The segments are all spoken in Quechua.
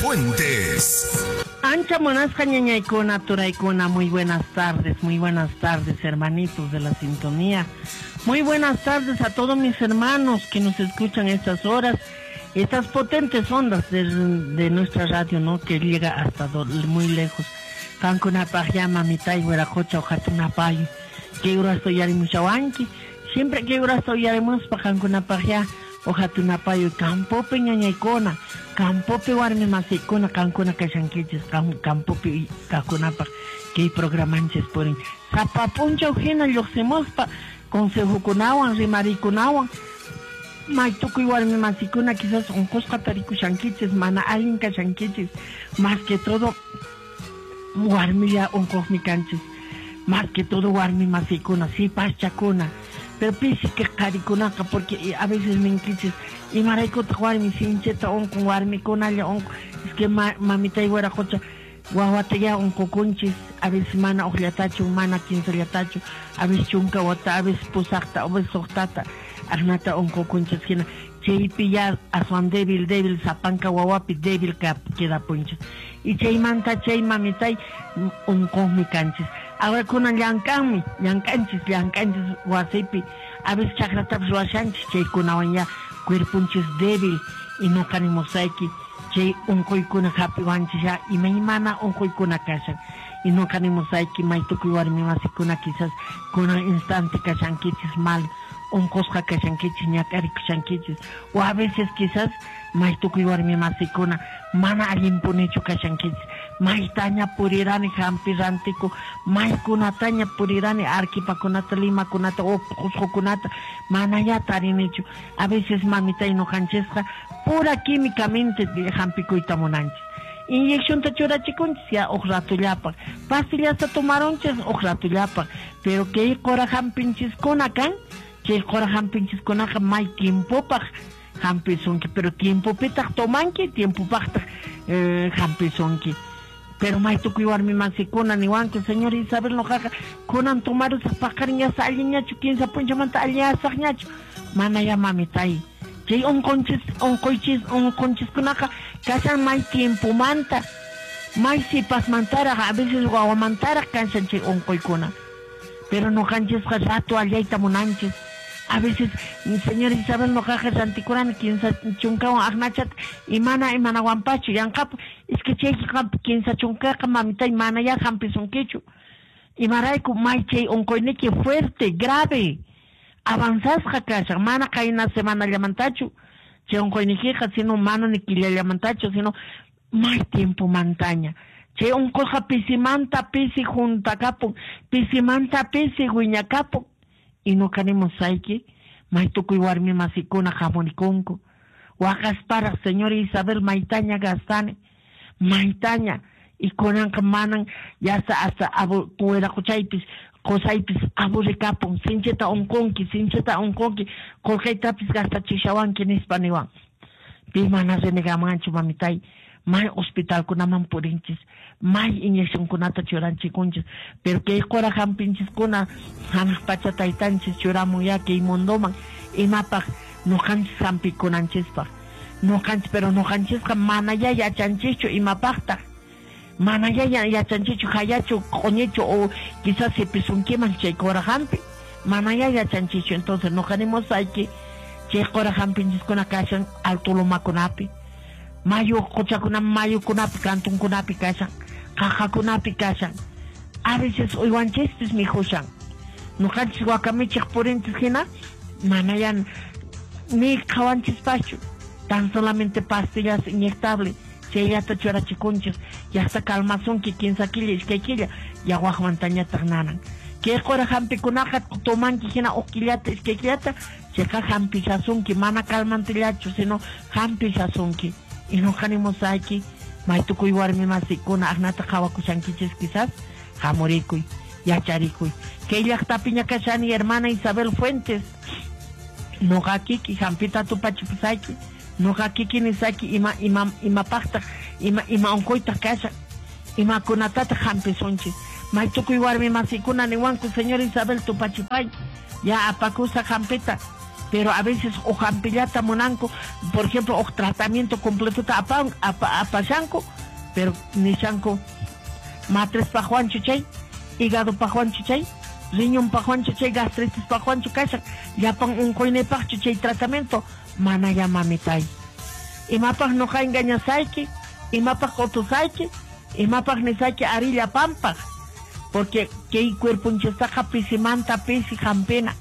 Fuentes. Ancha munasqa ñañaykuna, turaykuna, muy buenas tardes, hermanitos de la sintonía. Muy buenas tardes a todos mis hermanos que nos escuchan estas horas, estas potentes ondas de nuestra radio, ¿no? Que llega hasta muy lejos. Qankunapaq ya mamitay wiraqocha uqatunapayo. Kay urasta uyarimushawanki. Siempre kay urasta uyarimuspa qankunapaq ya uqatunapayo campopi ñañaykuna, campopi warmi masikuna qankuna kashankichis campopi kaqkunapaq kay programanchis purin. Sapa p'unchaw hina lluqsimuspa consejokunawan rimarikunawan may tukuy warmi masikuna quizás unqusqa tarikushankichis, mana allin kashankichis, más que todo warmilla unquqmi kanchis, más que todo warmi masikuna, sipaschakuna, pero pisi que qharikunaqa porque a veces ninkichis imaraykutaq warmi sinchita unqun, warmikunalla unqun, es que mamitay wiraqocha wawata ya unqukunchis, a veces mana uqllatachu, mana kinsallatachu, a veces chunka wata, a veces pusaqta, a veces suqtata, aqnata unqukunchis hina chaypi ya aswan débil, débil, sapanka wawapi débil quedapunchis. Y chaymanta chay mamitay unquqmi kanchis. Ahora kunan llank'anmi, llank'anchis, llank'anchis wasipi, a veces chakratapas ruwashanchis, chaykunawan ya cuerpunchis débil y nuqa nimusayki chay unquykuna hapiwanchis ya imaymana unquykuna kashan. Y nuqa nimusayki may tukuy warmi masikuna quizás kunan instante kashankichis mal, unqusqa kashankichis, ñak'arikushankichis, o a veces quizás may tukuy warmi masikuna mana allinpunichu kashankichis, maytaña purirani hampi rantiku, maykunataña purirani arquipakunata, limakunata, o qusqukunata, mana ya tarinichu. A veces mamitay nuqanchisqa pura químicamente hampikuyta munanchis. Inyeccionta churachikunchis ya uq ratullapaq, pastillasta tomarunchis uq ratullapaq, pero kay qura hampinchiskuna kan, chay qura hampinchiskunaqa may tiempopaq hampisunki, pero tiempopitaq tomanki, tiempopaqtaq hampisunki. Pero may tukuy warmi masikuna niwanku, señor Isabel nuqaqa kunan tomarusaq paqarin yasa allinñachu, kinsa p'unchamanta allinyasaqñachu, mana ya mamitay. Chay unqunchis, unquychis, unqunchiskunaqa kashan may tiempomanta, may sipasmantaraq, a veces wawamantaraq kashan chay unquykuna. Pero nuqanchisqa rato allayta munanchis. A veces, señor Isabel, nuqaqa rantikurani kinsa chunkawan aqnachata y mana imanawanpachu yanqapu, es que chay kinsa chunkaqa mamitay mana ya hampisunkichu. Imarayku may chay unquyniki fuerte, grave, avanzasqa kashan, mana qayna semanallamantachu chay unquynikiqa, sino mana ni killallamantachu, sino may tiempomantaña. Chay unquyqa pisimanta pisi juntakapun, pisimanta pisi wiñakapun. Y nuqa nimusayki may tukuy warmi masikuna hamurikunku waqasparaq, señor Isabel, maytaña gastani, maytaña, y kunanqa manan yasa hasta wiraqochaypis qusaypis aburrikapun, sinchita unqunki, sinchita unqunki, qullqaytapis gastachishawanki nispa niwan. Pi mana renegamanchu mamitay, may hospitalkunaman purinchis, may inyeccionkunata churanchikunchis, pero kay qura hampinchiskuna hanaq pacha taytanchis churamun ya kay mundoman imapaq nuqanchis hampikunanchispaq. Nuqanchis, pero nuqanchisqa mana ya yachanchischu imapaqtaq, mana ya yachanchischu hayachu q'uñichu o quizás sipisunkiman chay qura hampi, mana ya yachanchischu. Entonces nuqa nimusayki chay qura hampinchiskuna kashan alto lumakunapi, mayu qochakuna mayukunapi, kantunkunapi kashan, qaqakunapi kashan, a veces uywanchispis mikhushan. Nuqanchis wakamichiq purinchis hina mana ya ni qhawanchispaschu, tan solamente pastillas inyectable chayllata churachikunchis, yasta calmasunki kinsa killa iskay killa, ya waqmantañataq nanan. Kay qura hampikunaqa tomanki hina uq killata iskay killata, chayqa hampishasunki, mana calmantillachu, sino hampishasunki. Y nuqa nimusayki may tukuy warmi masikuna aqnata qhawakushankichis quizás hamurikuy, yacharikuy. Kay llaqtapiña kashani hermana Isabel Fuentes, nuqa kiki hampita tupachipusayki, nuqa kiki nisayki ima ima imapaqtaq ima ima unquytaq kashan, imakunatataq hampisunchis. May tukuy warmi masikuna niwanku, señor Isabel, tupachipay, ya apakusaq hampita. Pero a veces o hampillata munanku, por ejemplo, o tratamiento completota apashanku, pero nishanku matriz paqwanchu chay, hígado paqwanchu chay, riñón paqwanchu chay, gastritis paqwanchu kashan, llapan unquynipaqchu chay tratamiento, mana ya mamitay. Imapaq noqa engañasayki, imapaq q'utusayki, imapaq nisayki ari llapanpaq, porque kay cuerponchistaqa pisimanta pisi hampina.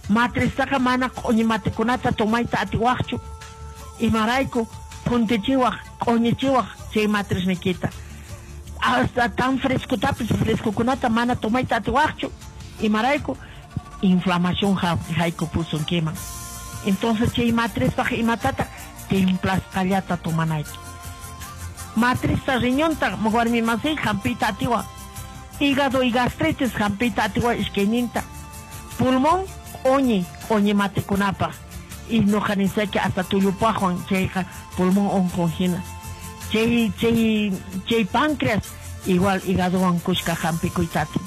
Matristaqa mana q'uñi matikunata tomayta atiwaqchu, imarayku phuntichiwaq, q'uñichiwaq chay matrisniykita. Hasta tan frescotapis frescokunata mana tomayta atiwaqchu, imarayku inflamación haykupusunkiman. Entonces chay matrispaq imatata templasqallata tomanayki. Matrista riñonta warmi masiy hampiyta atiwaq, hígado y gastritis hampiyta atiwaq iskayninta, pulmón q'uñi, q'uñi matikunapaq, y noqa nisayki hasta tullupaqwan chayqa pulmón unqun hina. Chay chay páncreas igual hígadowan kushka hampikuyta atin.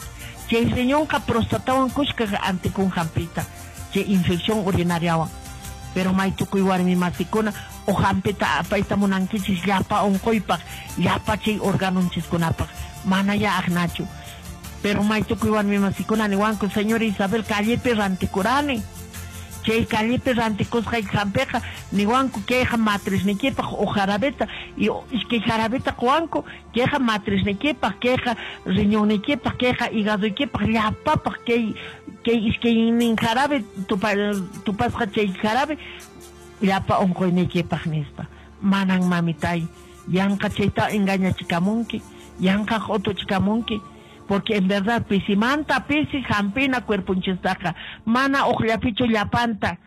Chay riñonqa prostatawan kushka antikun hampiyta, chay infección urinariawan. Pero may tukuy warmi masikuna o hampita apayta munankichis llapa unquypaq, llapa chay organonchiskunapaq, mana ya aqnachu. Pero may tukuy warmi masikuna niwanku, señora Isabel, callepi rantikurani. Chay callepi rantikusqay hampiqa niwanku kayqa matrisniykipaq o jarabeta, y iskay jarabeta quwanku kayqa matrisniykipaq, kayqa riñonniykipaq, kayqa hígadoykipaq, llapapaq kay iskaynin jarabe tupasqa chay jarabe llapa unquyniykipaq nispa. Manan mamitay, yanqa chayta engañachikamunki, yanqa q'utuchikamunki, porque en verdad pisimanta pisi hampina cuerponchistaqa, mana uqllapichu llapanta,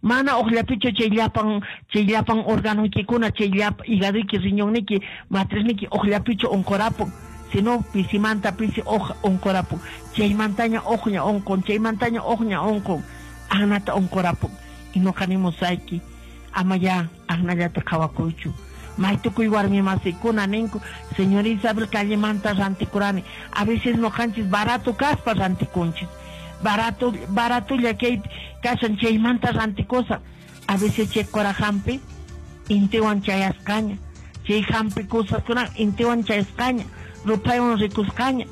mana uqllapichu chay llapan organoykikuna, chay llapa hígadoyki, riñonniyki, matrisniyki uqllapichu unqurapun, sino pisimanta pisi unqurapun, chaymantaña uqña unqun, chaymantaña uqña unqun, aqnata unqurapun. Y noqa nimusayki, ama ya aqnallata qhawakuychu. May tukuy warmi masikuna ninku, señora Isabel, callemanta rantikurani. A veces noqanchis barato kaspa rantikunchis, barato baratolla kay kashan chaymanta rantikusa. A veces chay qura hampi intiwan chayasqaña, chay hampi kusaskuna intiwan chayasqaña, ruphaywan rikusqaña.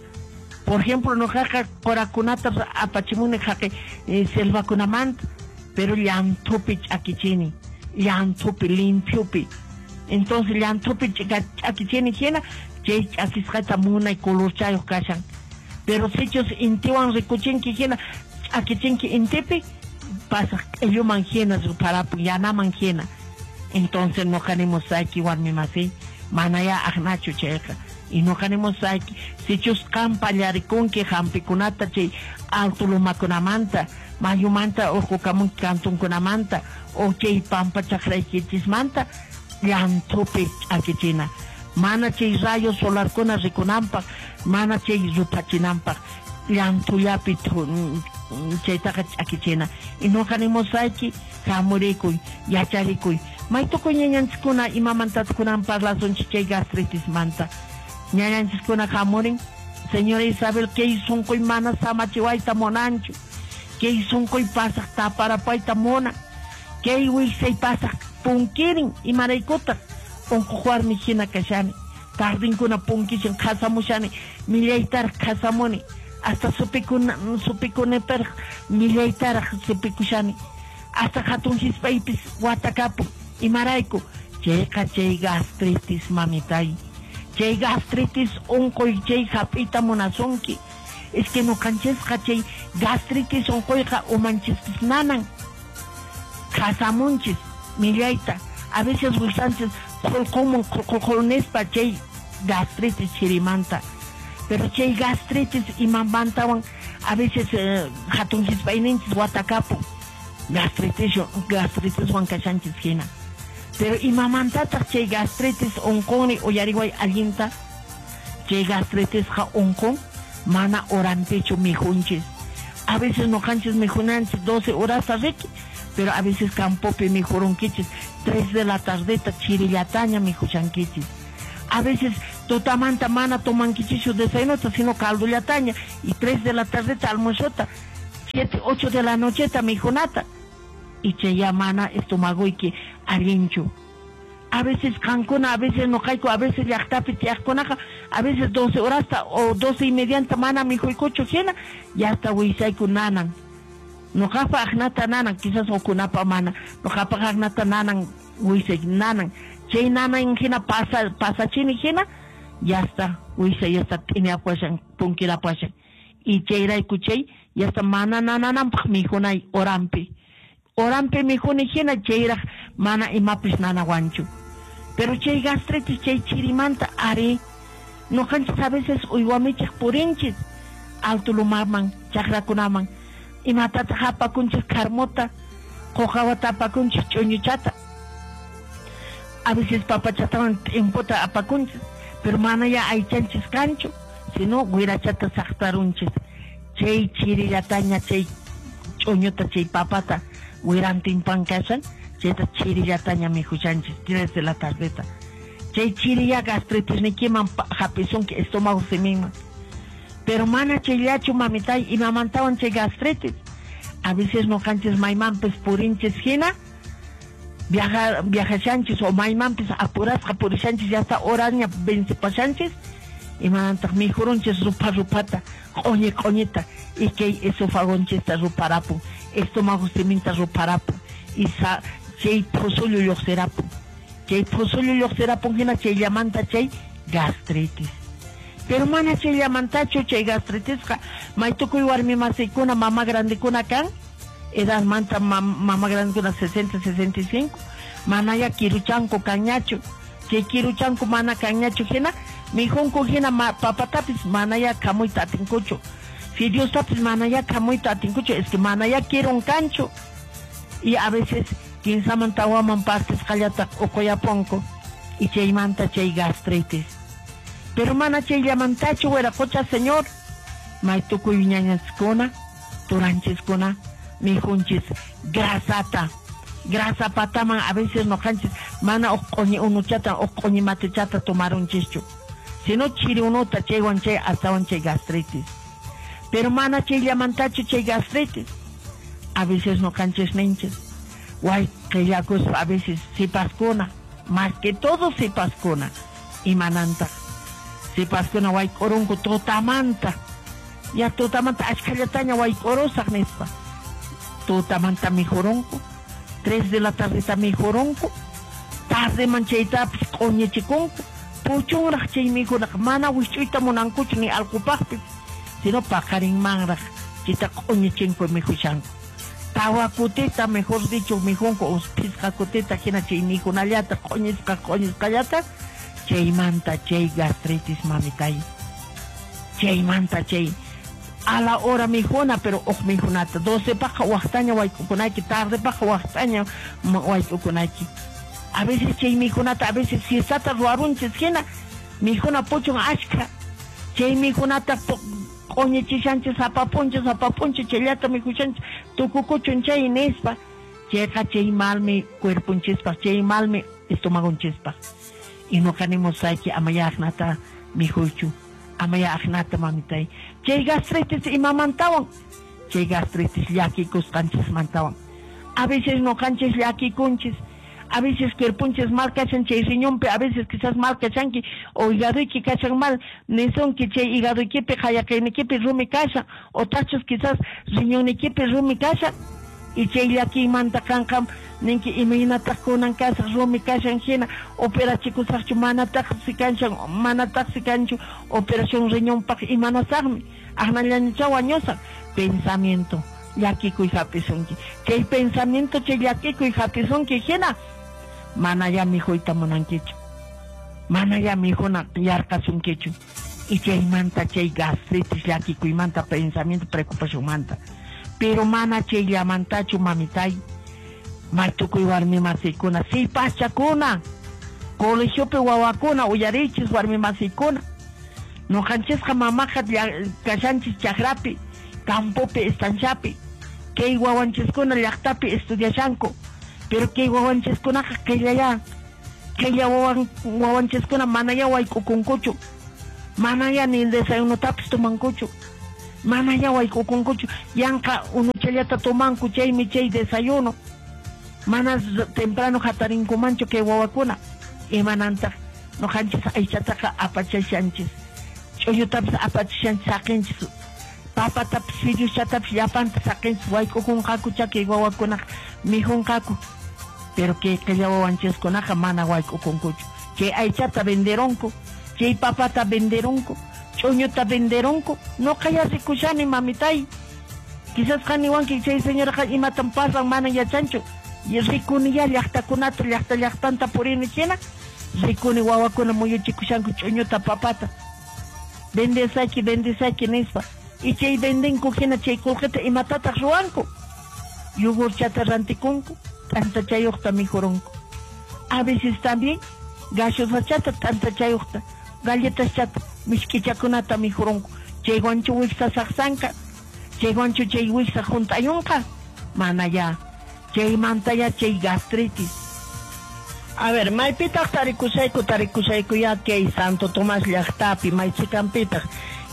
Por ejemplo, noqaqa qurakunata apachimuni haqi selvakunamanta, pero llanthupi ch'akichini, llanthupi limpiopi. Entonces llanthupi ch'akichini hina, chay ch'akisqata munay colorchayuq kashan. Pero sichus intiwan rikuchinki hina, ch'akichinki intipi, pasaq q'illuman hina rupharapun, yanaman hina. Entonces noqa nimusayki warmi masiy, mana ya aqnachu chayqa. Y noqa nimusayki, sichus qam pallarikunki hampikunata chay alto lumakunamanta, mayumanta urqukamunki kantunkunamanta, o chay pampa chaqraykichismanta, llanthupi ch'akichina, mana chay rayo solarkuna rikunanpaq, mana chay ruphachinanpaq, llanthullapi chaytaqa ch'akichina. Y noqa nimusayki, hamurikuy, yacharikuy. May tukuy ñañanchiskuna imamantataq kunan parlasunchik chay gastritismanta. Ñañanchiskuna hamurin, señora Isabel, kay sunquy mana samachiwayta munanchu, kay sunquy pasaq taparapayta munan, kay wiksay pasaq punkirin, imaraykutaq unquq warmi hina kashani, tardinkuna punkichin qhasamushani, millaytaraq qhasamuni, hasta supikunipiraq millaytaraq supikushani, hasta hatun hispaypis watakapun, imarayku chayqa chay gastritis mamitay, chay gastritis unquy chay hap'iyta munasunki. Es que noqanchisqa chay gastritis unquyqa umanchispis nanan, qhasamunchis millayta, a veces wiksanchis qhulqumun qhulqul nispa chay gastritis chirimanta. Pero chay gastritis imamantawan a veces hatun hispayninchis watakapun, gastritiswan kashanchis hina. Pero imamantataq chay gastritis unqunri uyariway allinta, chay gastritisqa unqun mana horanpichu mikhunchis. A veces noqanchis mikhunanchis 12 horasta riki, pero a veces campopi mikhurunkichis 3 de la tardeta chirillataña mikhushankichis. A veces tutamanta mana tomankichischu desayunota, sino caldollataña, y 3 de la tardeta almuerzota, 7, 8 de la nocheta mikhunata. Y chay mana estomagoyki allinchu. A veces qankuna, a veces noqayku, a veces llaqtapi tiyaqkunaqa, a veces 12 horasta o 12:30 mana mikhuykuchu hina, ya está wiksayku nanan. Noqapa aqnata nanan, quizás hukkunapa mana. Noqapa aqnata nanan, wiksay nanan. Chay nanan hina pasachini hina, ya está, wiksay ya está t'iñapashan, punkirapashan. Y chayrayku chay, ya está mana nanananpaq mikhunay horampi. Horampi mikhuni hina chayraq mana imapis nanawanchu. Pero chay gastritis, chay chirimanta, ari, noqanchis a veces uywamichik purinchis, alto lumarman, chakrakunaman, imatataq apakunchis karmota, qoqawata apakunchis ch'uñuchata, a veces papachatawan t'impota apakunchis, pero mana ya aychanchis kanchu, sino wirachata saqtarunchis, chay chirillataña, chay ch'uñuta, chay papata, wirantinpan kashan, chayta chirillataña mikhushanchis, 3 de la tardeta. Chay chirilla gastritis nikiman hapisunki estómago siminman. Pero mana chayllachu mamitay imamantawan chay gastritis. A veces noqanchis maymanpis purinchis hina, viajashanchis o maymanpis apurasqa purishanchis, ya está horaña vencipashanchis, imanantaq mikhurunchis rupa rupata, q'uñi q'uñita, y kay esofagonchista ruparapun, estómago siminta ruparapun, y chay phusullu lluqsirapun. Chay phusullu lluqsirapun hina chayllamanta chay gastritis. Pero mana chayllamantachu chay gastritisqa, maytukuy warmi masiykuna, mama grandekuna kan, edadmanta mama grandekuna 60, 65, manaya kiruchanku kanñachu. Chay kiruchanku mana kanñachu hina, mikhunku hina papatapis manaya khamuyta atinkuchu. Fideostapis manaya khamuyta atinkuchu, es que manaya kirun kanchu. Y a veces kinsaman tawaman partisqallata uquyapunku, y chaymanta chay gastritis. Pero mana chayllamantachu wiraqucha señor, maytukuy ñañaskuna, turanchiskuna, mikhunchis grasata, grasa pataman a veces noqanchis mana uq q'uñi unuchata, uq q'uñi matichata tomarunchischu, sino chiri unuta chaywan chay astawan chay gastritis. Pero mana chayllamantachu chay gastritis. A veces noqanchis ninchis, way qillakuspa a veces sipaskuna, más que todo sipaskuna, imanantaq sipaskuna wayk'urunku tutamanta, ya tutamanta ashkhallataña wayk'urusaq nispa, tutamanta mikhurunku, 3 de la tardeta mikhurunku, tardeman chaytapis q'uñichikunku, puchunraq chay mikhunaqa mana wisch'uyta munankuchu ni allqupaqpis, sino paqarinmanraq chayta q'uñichinku mikhushanku. Tawa kutita, mejor dicho, mikhunku, o phisqa kutita hina chay mikhunallata, q'uñisqa q'uñisqallata, chaymanta chay gastritis mamitay. Chaymanta chay a la hora mikhuna, pero uq mikhunata 12 paqa waqtaña wayk'ukunayki, tarde paqa waqtaña wayk'ukunayki. A veces chay mikhunata, a veces siestata ruwarunchis hina, mikhuna puchun ashkha, chay mikhunata q'uñichishanchis, apapunchis, apapunchis, chayllata mikhushanchis, tukukuchun chay nispa, chayqa chay malmi cuerpunchispaq, chay malmi estomagonchispaq. Y noqanimusayki amaya aqnata mikhuychu, amaya aqnata mamitay. Chay gastritis imamantawan, chay gastritis llakikusqanchismantawan. A veces noqanchis llakikunchis, a veces cuerpunchis mal kashan chay riñonpi, a veces quizás mal kashanki o hígadoyki kashan mal, nisunki chay hígadoykipi qayaqaynikipi rumi kashan, o tachus quizás riñonnikipi rumi kashan, y chay llakiymanta kanqa ninki imaynataq kunan kasaq rumi kashan hina, operachikusaqchu manataqsi kanchan, manataqsi kanchu operación riñonpaq imanasaqmi, aqnallañacha wañusaq. Pensamiento llakikuy hapisunki, chay pensamiento chay llakikuy hapisunki hina, mana ya mikhuyta munankichu, mana ya mikhuna yarqasunkichu, y chaymanta chay gastritis llakikuymanta, pensamiento preocupacionmanta. Pero mana chayllamantachu mamitay, maytukuy warmi masiykuna, sipachakuna, colegiopi wawakuna, uyarichis warmi masiykuna, noqanchisqa mamaqa kashanchis chakrapi, campopi, estanciapi, kay wawanchiskuna llaqtapi estudiashanku, pero kay wawanchiskunaqa qillaya, qilla wawanchiskuna manaya wayk'ukunkuchu, manaya ni desayunotapis tomankuchu, manaya wayk'ukunkuchu, yanqa unuchallata tomanku, chaymi chay desayuno. Mana temprano hatarinkumanchu kay wawakuna. Imanantaq nuqanchis aychataqa apachashanchis. Ch'uñutapis apachishanchis saqinchis. Papatapis fideoschatapis llapanta saqinchis wayk'ukunqaku kay wawakunaqa mikhunqaku. Pero kay qilla wawanchiskunaqa mana wayk'ukunkuchu. Chay aychata venderonku, chay papata venderonku, ch'uñuta venderonku. Nuqa ya rikushani mamitay. Quizás qaniwanki chay señoraqa imatan pasan mana yachanchu. Rikuni ya llaqtakunata llaqta llaqtanta purini hina. Rikuni wawakuna muyuchikushanku ch'uñuta papata. Vendesaki, vendesaki nispa. Y chay vendenku hina chay qullqita imatataq ruwanku. Yogurchata rantikunku, t'antachayuqta mikhurunku. A veces también gaseosachata t'antachayuqta, galletaschata, misk'ichakunata mikhurunku. Chaywanchu wiksa saqsanka, chaywanchu chay wiksa hunt'ayunqa, mana ya. Chaymanta ya chay gastritis. A ver, maypitaq tarikushayku, tarikushayku ya kay Santo Tomás llaqtapi, maychikanpitaq.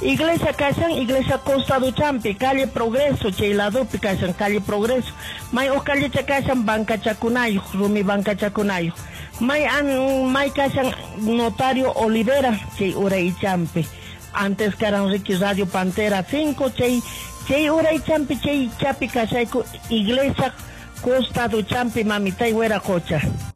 Iglesia kashan, iglesia costaduchampi, calle Progreso, chay ladopi kashan, calle Progreso. May uq callecha kashan bancachakunayuq, rumi bancachakunayuq. May an may kashan notario Olivera, chay uraychampi. Antes karan riki Radio Pantera 5, chay chay uraychampi, chay chapi kashayku, iglesia costaduchampi, mamitay wiraqocha.